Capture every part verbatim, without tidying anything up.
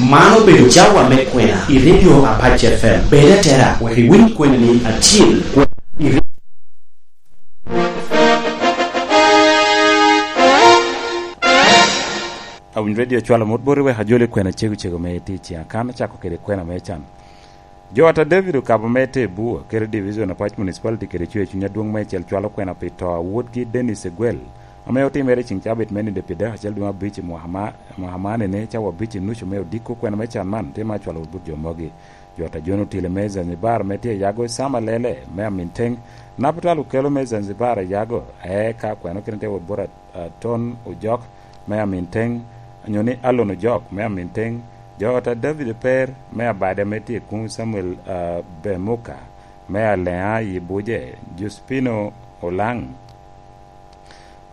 Man obedo cawa me kwena i Radio Apac F M. Bed atera, wek iwiny kwena ni atyel. Awiny Radio cwalo mot boti wek ajoli kwena cego cego me tye i ciŋa kan acako kede kwena me can. Jo ata David okabo me te Bua, kede Division Apac Municipality kede Cwer Cuny Adwoŋ me Icel cwalo kwena pi to a wotgi Dennis Egwel, ame otimere i ciŋ cabit me nino pi dek acel dwe me abic i mwaka ma, mwaka man ene cawa abic i nucu me odiko. Kwena me can man tye ma cwalo wot bot jo mogi. Jo ata John Otile me Zanzibar me tye yago Sam Alele me Aminteŋ, Naputal Okelo me Zanzibar yago, eka kwena okene tye wot bot a, Ton Ojok me Aminteŋ, nyo ni Alon Ojok me Aminteŋ, jo ata David Per me Abada me tye kuŋ, Samuel, a, Bemuka me Aleŋa i Buje, Jospino Olaŋ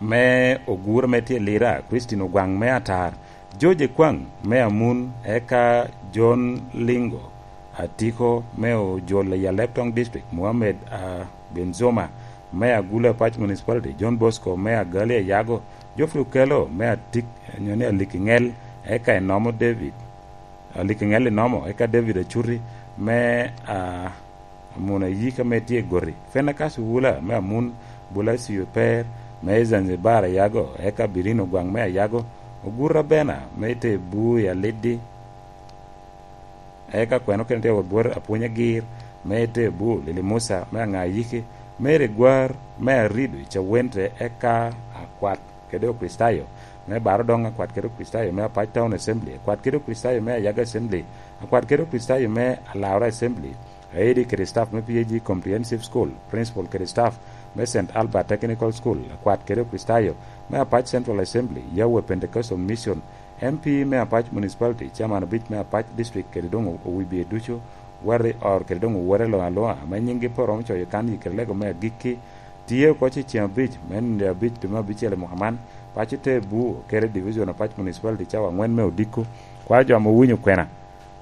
me Ogur me tye Lira, Christine Ogwaŋ me Atar, George Ekwaŋ me Amun, eka John Lingo Atiko me Ojol i Alep Toŋ District, Mohammed, a, Benzoma me Agulu Apac Municipality, John Bosco me Agali Ayago, Geoffrey Okello me Atik, nyo ni Alikiŋel, eka Inomo David, Alikiŋel Inomo, eka David Acuti me, a, Amun Ayika me tye Goti, Fenekas Wula me Amun, Bulacio Per me Zanzibar Ayago, eka Birino Gwaŋ me Ayago, Ogura Bena me te Bui Aliddi, eka kweno kene tye wot bwot Apwony Agir, me te Bul, Lili Musa, me Aŋa Ayiki, Mary Gwar, me Arido i Cawente, eka akwat kede Okricitayo me Baro Doŋ, akwat kede Okricitayo me Apac Town Assembly, akwat kede Okricitayo me Ayaga Assembly, akwat kede Okricitayo me Alaura Assembly, Aidi kede staff me P A G Comprehensive School, principal kede staff me Saint Albert Technical School, akwat kede Okricitayo me Apac Central Assembly, Yahweh Pentecostal Mission, M P me Apac Municipality, chairman obic me Apac District kede doŋ owibie ducu, wati or kede doŋ owote luŋ aluŋa, ame nyiŋgi pe oromo coyo kan i kede lego me agikki, tye oko i ceŋ abic, me nino abic dwe me abicel i mwaka man, paco te Bur kede Division Apac Municipality cawa aŋwen me odiko, kwao jo ame owinyo kwena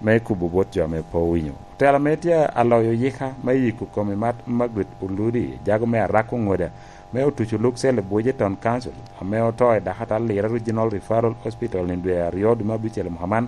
me kubo bot jo ame pe owinyo. Otela me tye aloyo yika me yiko kom i mat Margaret Oludi, jago me Arako Ŋoda, me otuco luk cell i Buje Town Council, ame oto i Dakatal Lira Regional Referral Hospital i dwe aryo dwe me abicel i mwaka man,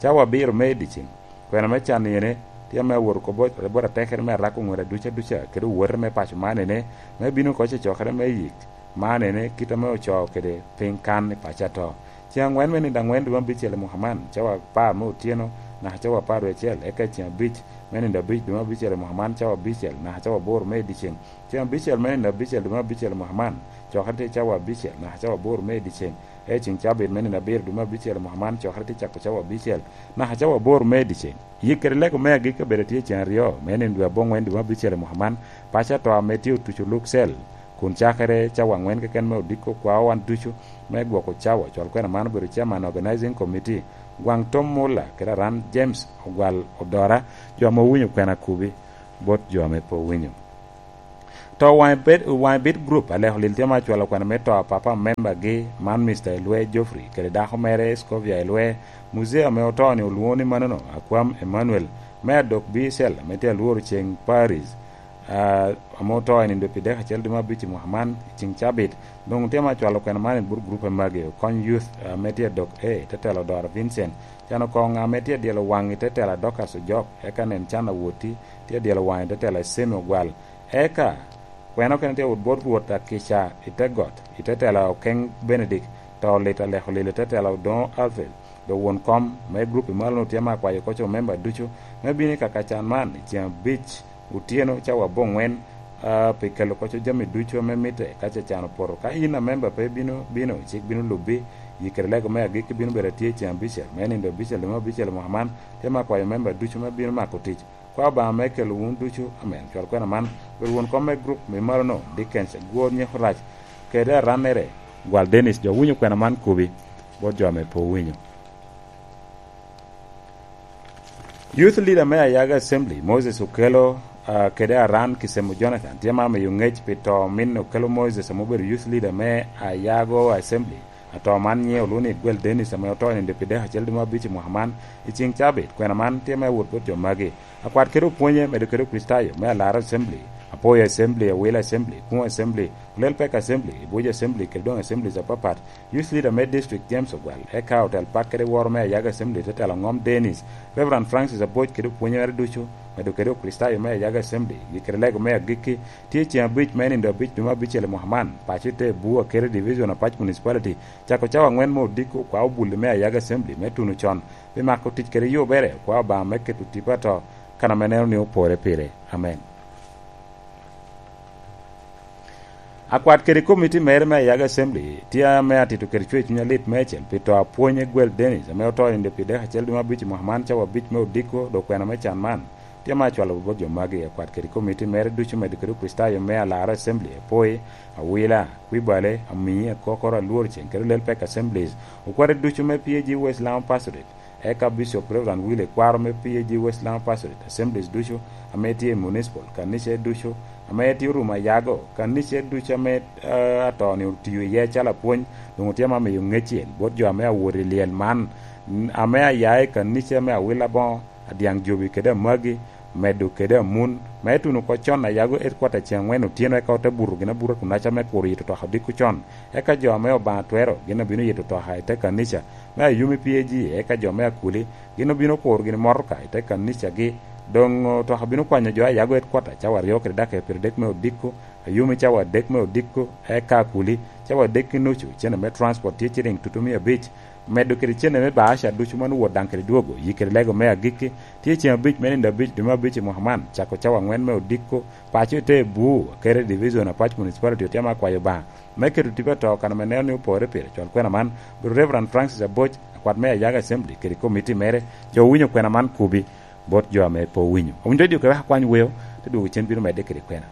cawa abiro me i dyeceŋ. Kwena me can ene tye ame awot oko bot, bot atekere me Arako Ŋoda duca duca, kede owote me paco man ene, me bino oko cocokere me yik man ene, kit ame ocoo kede piny kan i paco ato. Ceŋ aŋwen me nino aŋwen dwe me abicel i mwaka man, cawa apar me otyeno, naka cawa apar dwe acel, eka ceŋ abic me nino abic dwe me abicel i mwaka man, cawa abicel, naka cawa aboro me i dyeceŋ. Ceŋ abicel me nino abicel dwe me abicel i mwaka man, cokere tye cawa abicel, naka cawa aboro me i dyeceŋ. Eka ceŋ cabit me nino abiro dwe me abicel i mwaka man, cokere tye cako cawa abicel, naka cawa aboro me i dyeceŋ. Yik kede lego me agikki obedo tye ceŋ aryo, me nino dwe aboŋwen dwe me abicel i mwaka man, paco ato ame tye otuco luk cell, kun cakere cawa aŋwen keken me odiko kwao wan ducu me gwoko cawa. Cwal kwena man obedo chairman organizing committee, Gwaŋ Tom Mulla kede Aran James Ogwal Odora, jo ame owinyo kwena kubi bot jo ame pe owinyo. To waŋe bed, waŋe bit group, Aleko Lil tye ma cwalo kwena me to a papa member gi, man Mister Elwe Geoffrey, kede dako mere Scovia Elwe, muzee ame oto ni olwoŋo ni manono, Akwam Emmanuel, me Adok B Cell, ame tye alworo ceŋ Paris, ah, ame oto i nino pi dek acel dwe me abic i mwaka man, i ceŋ cabit. Doŋ tye ma cwalo kwena man i but group magi, Okony Youth, ah, ame tye Adok A, te telo Odora Vincent, can oko ŋa ame tye dyelo waŋ i te telo a Dorcas Ojok, eka nen can awoti, tye dyelo waŋ i te telo a Semi Ogwal, Eka, kwena okene tye wot bot Rwot akica i te got, i te tela Okeŋ Benedict, to lit Aleko Lil i te tela Odoŋo Alfred, do won kom me grup i malo-nu tye me akwayo koc omemba ducu me bino i kaka can man i ceŋ abic otyeno cawa aboŋwen, ah, pi kelo koc jami ducu ame mitte ka ce can opoto. Ka in amemba pe bino, bino, cik bino lubbi, yi kede lego me agikki bino bedo atye i ceŋ abicel, me nino abicel, dwe me abicel i mwaka man, tye me akwayo memba ducu me bino mako tic. Kwa Obaŋa me kelo wun ducu, amen. Cwal kwena man, bedo won kom me grup me malo-nu, Dickens, Gwor Nyeko Rac, kede arannere, Gwal Dennis, jo winyo kwena man kubi, bot jo ame pe owinyo. Youth leader me Ayago Assembly, Moses Okello, ah, kede Aran Kisemo Jonathan, tye ma miyo ŋec pi to min Okello Moses ame obedo youth leader me Ayago Assembly. Ato man nyiŋe olwoŋo ni Igwel Dennis ame oto i nino pi dek acel dwe me abic i mwaka man, i ceŋ cabit. Kwena man tye me awot bot jo magi. Akwat kede opwonye, medo kede Okricitayo me Alara Assembly, Apwoyo Assembly, Awila Assembly, Kuŋ Assembly, Olel Pek Assembly, Ibuc Assembly, kede doŋ Assemblies apapat, Youth Leader me District James Ogwal, eka otel pak kede woro me Ayaga Assembly, te telo ŋom Dennis, Reverend Francis Aboc kede opwonyere ducu, medo kede Okricitayo me Ayaga Assembly, i kede lego me agikki, tye ceŋ abic me nindo abic dwe me abicel i mwaka man, paco i te Bua kede Division Apac Municipality, cako cawa aŋwen me odiko, kwa obulli me Ayaga Assembly me tuno con, pi mako tic kede yubere, kwa Obaŋa me keto tipo ato, kan ame neno ni opore pire. Amen. Akwat kede komiti mere me Ayaga Assembly tye ame atito kede cwer cuny alit meicel pi to a pwony Egwel Dennis, ame oto i nino pi dek acel dwe me abic i mwaka man, cawa abic me odiko, dok kwena me can man tye ame acwalo bot jo magi. Akwat kede komiti mere ducu, medo kede Okricitayo me Alara Assembly, Apoi, Awila, Kwibale, Amii, Akokoro, Alwor Ceng, kede Olel Pek Assemblies, okwate ducu me P A G West Lango Pastorate, eka Bishop Reverend Willy Kwaro me P A G West Lango Pastorate, Assemblies ducu ame tye i Municipal, kanica ducu ame tye orumo Ayago, kanica ducu ame, eh, ato-ni otiyo iye calo apwony, doŋ otye ame amiyo ŋeccel bot jo ame awot i lyel man, n-, ame aya i kanica me Awila Boŋo, Adyaŋ Jobi kede Amagi, medo kede Amun, me tuno oko con Ayago Headquarter ceŋ aŋwen otyeno, eka ote buto gin abuta kunaca me kuro yito twaka odiko con. Eka jo ame Obaŋa twero gin obino yito twaka i te kanica me Ayumi P A G, eka jo me Akuli gin obino kuro gin motoka i te kanicagi. Doŋ twaka bino kwanyo jo Ayago Headquarter cawa aryo kede dakika pyeradek me odiko, Ayumi cawa adek me odiko, eka Akuli cawa adek ki nucu. Cene me transport tye ciliŋ tutumia abic, medo kede cene me baasha ducu ma nwoŋo wot daŋ kede dwogo, yi kede lego me agikki, tye ceŋ abic me nindo abic dwe me abic i mwaka man, cako cawa aŋwen me odiko, paco i te Buu, kede Division Apac Municipality otye ame akwayo Obaŋa me keto tipo ato kan ame neno ni opore pire. Cwal kwena man bot Reverend Francis Aboc, akwat me Ayaga Assembly, kede komiti mere. Jo owinyo kwena man kubi bot jo ame pe owinyo. Owinyo redio kede wek akwany weo, te dwogo cen bino medde kede kwena.